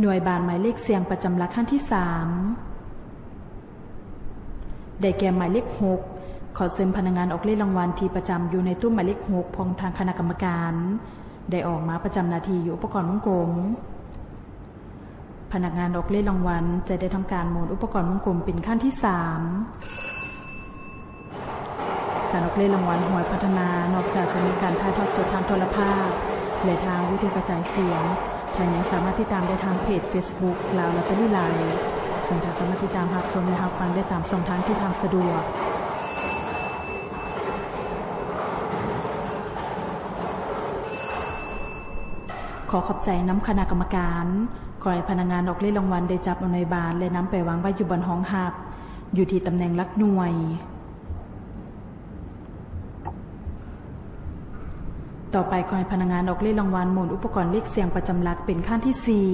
ໜ່ວຍບານໝາຍເລກສ່ຽງປະຈຳຫຼັກ ຄັນທີສາມ ໄດ້ແກ່ໝາຍເລກຫົກ. ຂໍເຊີນພະນັກງານອອກເລກລາງວັນທີ່ປະຈຳຢູ່ໃນຕູ້ໝາຍເລກຫົກ ຂອງທາງຄະນະກຳມະການ ໄດ້ອອກມາປະຈຳໜ້າທີ່ຢູ່ອຸປະກອນວົງກົມ. ພະນັກງານອອກເລກລາງວັນຈະໄດ້ທຳການໝູນອຸປະກອນວົງກົມເປັນຄັ້ງທີສາມ. ການອອກເລກລາງວັນຫວຍພັດທະນາ ນອກຈາກຈະມີການຖ່າຍທອດສົດທາງໂທລະພາບ ແລະ ທາງວິທະຍຸກະຈາຍສຽງ, ທ່ານຍັງສາມາດຕິດຕາມໄດ້ທາງເພຈເຟສບຸກ Lao Lottery Live ເຊິ່ງທ່ານສາມາດຕິດຕາມຮັບຊົມ ແລະ ຮັບຟັງໄດ້ຕາມຊ່ອງທາງທີ່ທ່ານສະດວກ. ຂໍຂອບໃຈນຳຄະນະກຳມະການ. ຂໍໃຫ້ພະນັກງານອອກເລກລາງວັນໄດ້ຈັບເອົາໜ່ວຍບານ ແລະ ນຳໄປວາງໄວ້ຢູ່ບ່ອນຮອງຮັບ ຢູ່ທີ່ຕຳແໜ່ງຫຼັກໜ່ວຍ. ຕໍ່ໄປ ຂໍໃຫ້ພະນັກງານອອກເລກລາງວັນໝູນອຸປະກອນເລກສ່ຽງປະຈຳຫຼັກເປັນຄັ້ງທີສີ່.